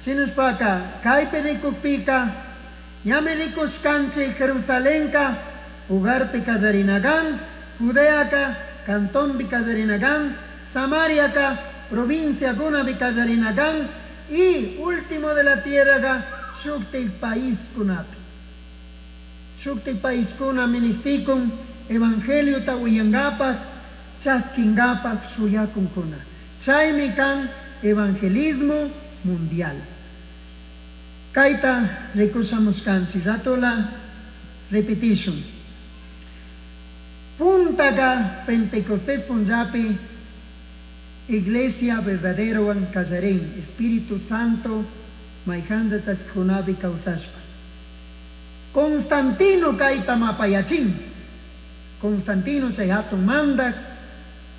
Shinashpaka kaypi rikukpika ñami rikushkanchik Jerusalenka hogarpi kallarinakan, Judeaka cantonpi kallarinakan, Samariaka provinciakunapi kallarinakan y último de la tierraga shuktik paiskunapi. Shuktik paiskuna ministikun evangeliota uyangapak, chaskingapak shuyakunkuna. Chaymi kan evangelismo mundial. Kayta rikushamushkanchik, ratola repetishun. Puntaka Pentecostés punllapi Iglesia verdaderowan kallarin, Espíritu Santo mayjanja chaskikunapi kawsashpa. Constantino kayta mapayachin. Constantino chay hatun mandak,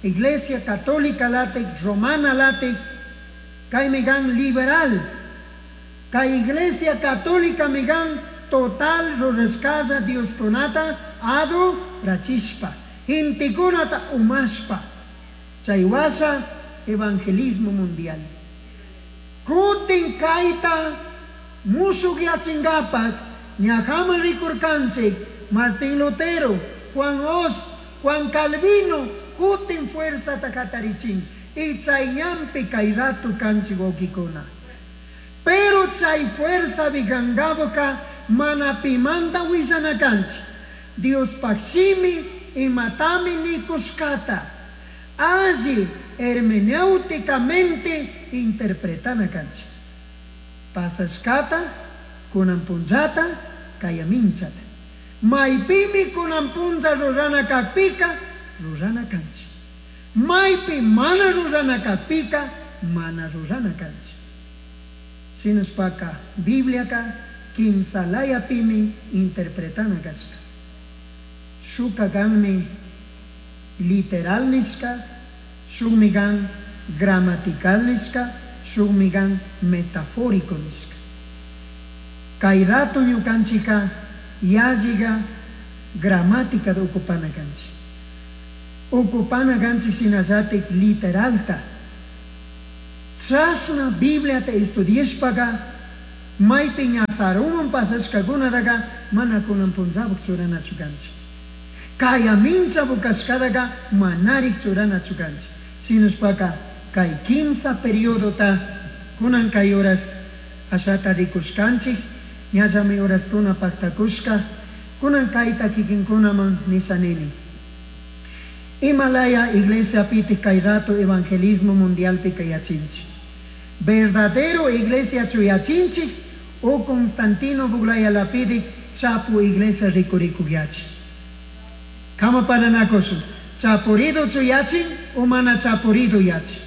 Iglesia Católica latik, Romana latik, kaymi kan liberal. Kay Iglesia Católica mi kan total rurashkalla Dioskunata adorachishpa, gentekunata umashpa. Chay washa evangelismo mundial. Kutin kayta mushukyachinkapak ñajaman rikurkanchik Martín Lutero, Juan Hus, Juan Calvino kutin fuerzata katarichin y chay ñanpi kay ratu kanchik wawkikuna. Pero chay fuerza vigangabuka mana pimanta willana kanchik. Diospaj shimi imatami nikushkata alli hermenéuticamente interpretana kanchik. Pasashkata, kunan punllata, kayaminchata. Maypimi kunan punlla rurana kakpika, rurana kanchik. Maypi mana rurana kakpika, mana rurana kanchik. Shinashpaka Bibliaka kimsalayapimi interpretana kashka. Shuka kanmi literal nishka, shukmi kan gramatical nishka, shukmi kan metafórico nishka. Kay rato ñukanchika yalliga gramática de ocupana kanchik. Ocupana kanchik shinallatik literalta. Chashna Bibliata estudiashpaka maypi ña saruman pasashkakunataka mana kunan punllapuk churanachu kanchik. Kayaminchapu kashkataka manarik churanachu kanchik. Shinashpaka kay kimsa periodota kunan kay horas ashata rikushkanchik, ñallami horaskuna paktakushka, kunan kayta kikinkunaman nisha nini. Imalaya iglesia pitik kay rato evangelismo mundialpi kayachinchik. Verdadero iglesia chuyachinchik o Constantino Buglaya lapidik chapu iglesia rikurikuyachi. Kama paranakushun, chapurido chuyachin o mana chapurido yachi.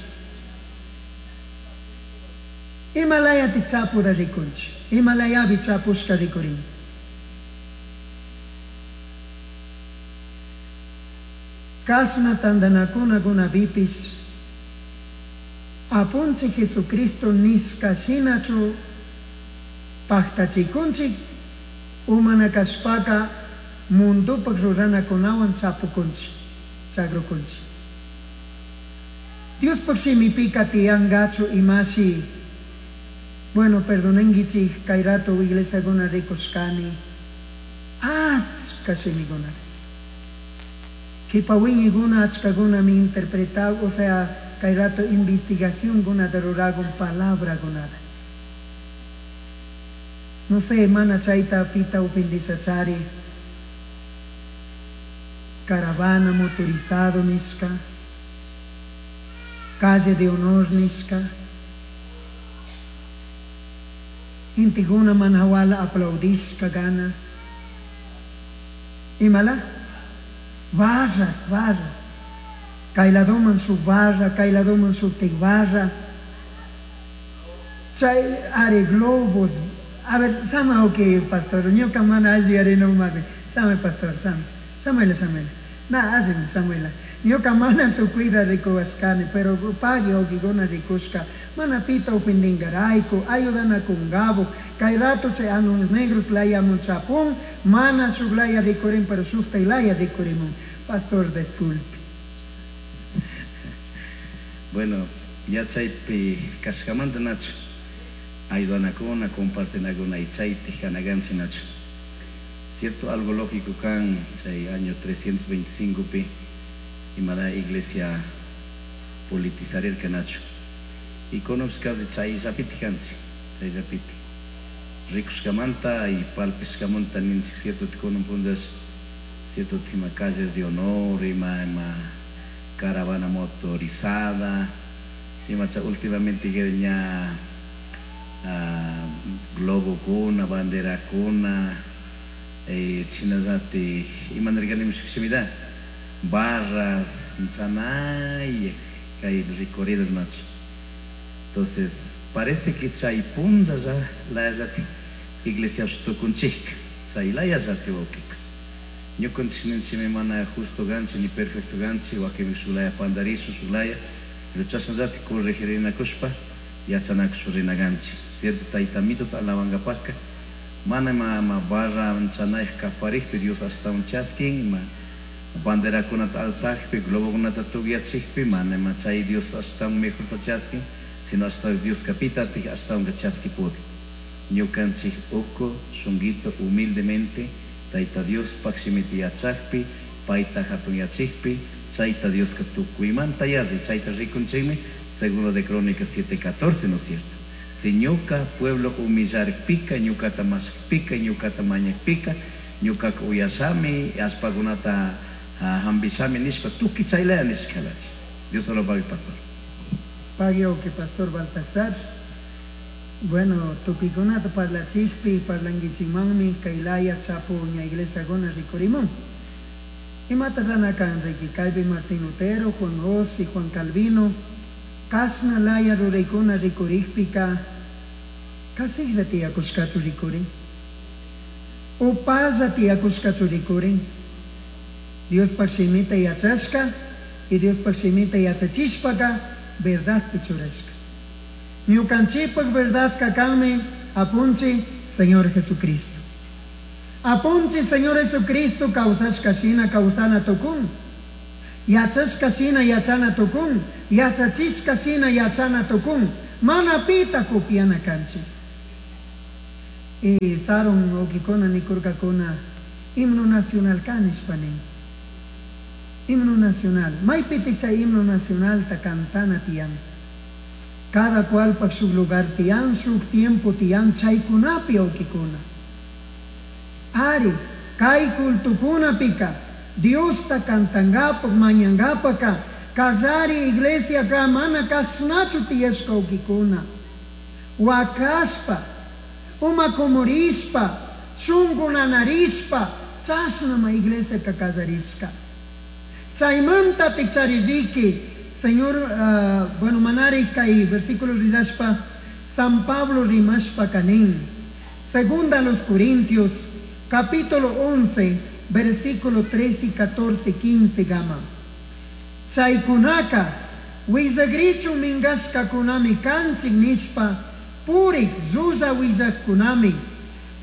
Imalayati chapuda rikunchik, imalayapi chapushka rikurin. Kashna tandanakuna kunapipis apunchik Jesucristo nishka shinachu paktachikunchik umana kashpaka mundupak ruranakunawan chapukunchik, chagrukunchik. Diospuk shimipika tiyangachu imashi. Bueno, perdonenguichik kay rato iglesiakuna rikushkani. Achka shimikuna. Kipawingiguna achkakuna mi interpretado, o sea, kay rato investigación guna de ruragun palabra gunada. No sé, mana chayta pita upindisachari. Caravana motorizado nishka. Calle de honor nishka. Intiguna manhawala aplaudishka gana. Imala? Barras, barras. Kayladoman su barra, kayladoman su barra. Chay are globos. A ver, sama ok, pastor. Ñuka mana alli are no mabe. Sama pastor, sama. Samuela, Samuela. Na, hazme, Samuela. Ñuka mana tu cuida rikuashkani, pero pagi okiguna rikushka. Mana pita ofendingaraiku, ayudana kungabo. Kay rato chay anuns negros laya muchapun, mana shuglaya rikurin, pero shukta ilaya rikurimun. Pastor, disculpe. Bueno, ya chaypi kashkamanta nachu. Ayudanakuna, compartinakuna y chaytik kanakanchik nachu. Cierto, algo lógico kan chay año 325 pi imada iglesia politizarirka nachu. Y conozcasi chayllapitik kanchik, chayllapitik. Rikushkamanta y palpishkamanta ninchik cierto kunan punllash cierto ima calles de honor, ima ima caravana motorizada, ima cha últimamente ña globokuna, banderakuna, chinallatik ima nirkani shimita barras, chanay, kay recorridos nachu. Entonces, parece que chay punlla ya layallati iglesia tukunchik, chay layallati wawkikus. Ñukanchik ninchikmi mana justo ganchi ni perfecto ganchi, wakinmi shuk laya pandarishun shuk laya, pero chashnallati corregirinakushpa yachanakushpa rina ganchik. Cierto, tayta Amituta alabankapakka mana ima ima barra chanayaj kaparikpi Dios ashtawan chaskin, ima banderakunata alzakpi, globokunata tukyachikpi, mana ima chay Dios ashtawan mejorta chaskin, sino ashtawan Dios kapitatik ashtawanka chaskipudi. Ñukanchik uku shunguito humildemente Tayta Diospaj shimita yachakpi, payta hatunyachikpi, chayta Dioska tukuymanta yalli, chayta rikunchikmi, segundo de Crónicas 7:14, ¿no es cierto? Si ñuka pueblo humillarpika, ñukata mashkpika, ñukata mañakpika, ñukaka uyashami, allpakunata hambishami nishpa tukuy chaylaya nishkalachi. Dios lo pague, pastor. Pague que pastor Baltasar. Bueno, tukuykunata parlachikpi, parlankichikmanmi, kaylaya chapu ña iglesiakuna rikurimun. Imata rana kan riki, kaypi Martín Lutero, Juan Hus y Juan Calvino, kashna laya ruraykuna rikurikpika, kasiklla tiyakushkachu rikurin, upalla tiyakushkachu rikurin, Diospaj shimita yachashka y Diospaj shimita yachachishpaka verdadpi churashka. Ñukanchikpak verdad kanmi apunchi Señor Jesucristo. Apunchi Señor Jesucristo kawsashka shina kawsana tukun. Yachashka shina yachana tukun. Yachachishka shina yachana tukun. Mana pita copiana kanchik. Y sarun wawkikuna nikurkakuna himno nacional kanishpa nin. Himno nacional. Maypitik chay himno nacionalta cantana tiyan. Cada cual pak shuk lugar tiyan, shuk tiempo tiyan, chaykunapi wawkikuna. Ari, kay cultukunapika, Diosta cantangapak, mañangapaka, kallari iglesia ka mana kashnachu tiyashka wawkikuna. Wakashpa, uma kumurishpa, shunku nanarishpa, chashnama iglesia ka kallarishka. Chaymanta tikchaririki, Señor, bueno, manari kay versículo ridashpa, San Pablo rimashpa kanin. Segunda a los Corintios, capítulo 11, versículo 13, 14, 15 gama. Chaykunaka, willagrichu mingashkakunami kanchik nishpa, purik llulla willakkunami,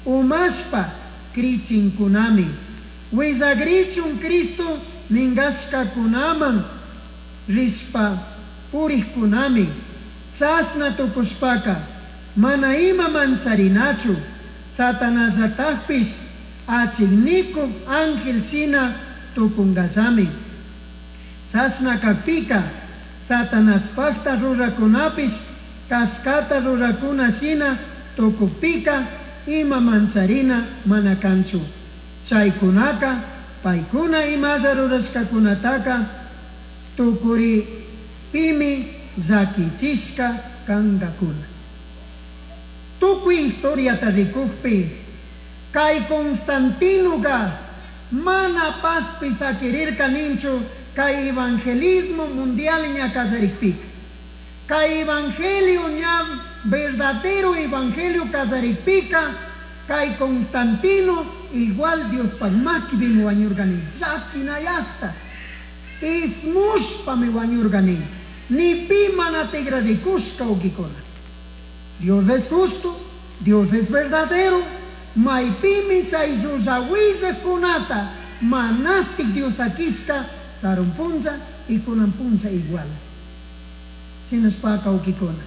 umashpa krichinkunami, willagrichun Cristo mingashkakunaman rishpa purikkunami, chashna tukushpaka, mana ima mancharinachu, Satanasllatakpish achiknikuk ángel shina tukungallami. Chashna kakpika, Satanaspakta rurakunapish kashkata rurakuna shina tukukpika, ima mancharina mana kanchu. Chaykunaka, paykuna imalla rurashkakunataka tukuripimi llakichishka kankakuna. Tukuy historiata rikukpi, kay Constantinoka mana pazpi sakirirka ninchu kay evangelismo mundial ña kallarikpika. Kay evangelio ña verdadero evangelio kallarikpika, kay Constantino igual Diospaj makipimi wañurkani, llakinayakta, ismushpami wañurkani, ni pi mana tigrarikushka wawkikuna. Dios es justo, Dios es verdadero, maypimi chay llullawillajkunata manastik Dios akishka sarun punlla y kunan punlla igual. Shinashpaka wawkikuna.